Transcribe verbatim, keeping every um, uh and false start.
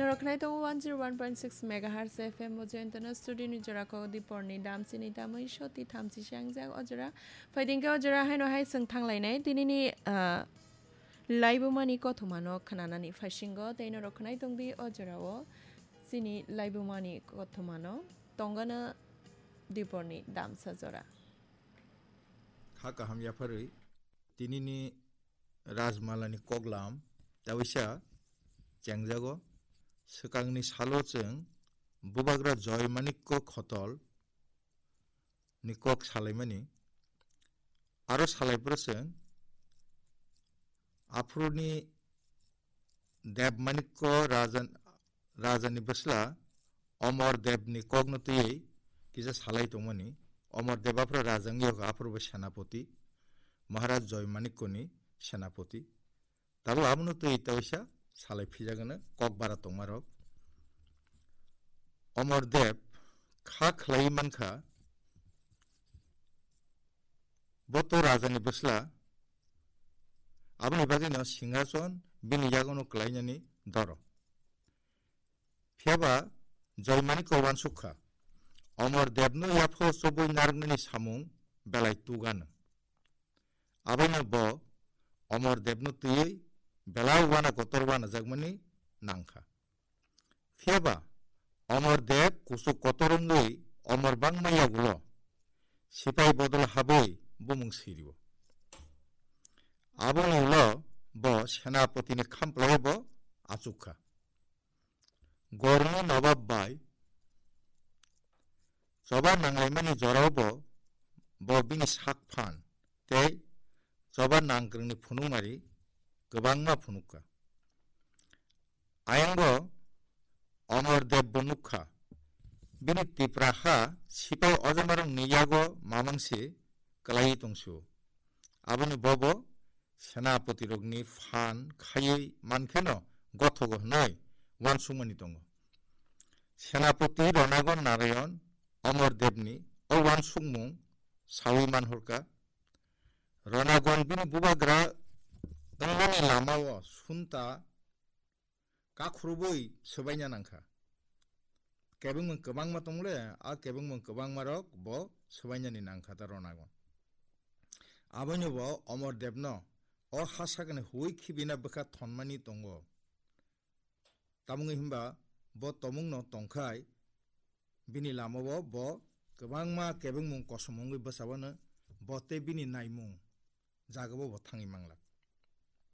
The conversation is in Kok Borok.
Roknai tongo one zero one point six megahertz F M o Joyantana studio ni jora ko di porni dam chini tamui soti thamchi shangjak o jora. Phaidingke o jora haino hai chwng thanglainai tinini, ah, laibumani kothomano khnanani phaisingo tei no roknai tongdi o jora o chini laibumani kothomano tongana di porni damsa jora. Kha kaham yapharwi tinini Rajmalani koklam tawisa chengjago. Swkangni salo chwng Bubagra Joy Manikko Khotol ni kok salaimani. Aro salaiphuru chwng aphuruni Deb Manikko Rajan-, Rajani bwsla Omor Debni kokno twiwi kisa salai tongmani. Omor Deb aphuru raja wngya kha, aphuru bo senapoti, Maharaj Joy Manikkoni senapoti. Tabuk abono twi tawisa salai phijagano kok bara tongmarok. Omor Deb kha khlaiwi mankha, bo to rajani bwsla, aboni bagwino singhason bini yagono klainani doro. Phiyaba Joy Manikko wansuk kha, Omor Debno yapho chobwi narwknani samung belai tugano. Abono bo Omor Debno twiwi belai wana kotor wanajakmani nangkha. Phiyaba Omor Deb kuchuk kotor wngwi omor bangma yagulo sipai bodol habwi bumung sirio. Aboni ulo bo senapotini khamplaio bo achuk kha. Gorni nobab bai choba nanglaimani jorao bo, bo bini sak phan tei choba nangkwrwngni phunukmari kwbangma phunukha. Ayangbo Omor Deb bo nukha, bini Tipra ha sipai ojomarokni yago mamang se kwlaiwi tongsu. Aboni bobo senapotirokni phan khaiwi mankheno gothogo hwnwi wansukmani tongo. Senapoti Ronagon Narayon Omor Debni o wansukmung sawi manhorkha. Ronagon bini bubagra wngmani lamao sunta kakhurubui swbaina nangkha. Kebengmung kwbangma tongle, a kebengmung kwbangmarok bo swbainani nangkha ta Ronagon. Aboino bo Omor Debno o ha sakni huwi khibina bwkha thonmani tongo. Tamungwi hwnba bo tomungno tongkhai bini lamao bo kwbangma kebengmung kosom wngwi bwsabano bo tei bini naimung jagao bo thangwi mangla.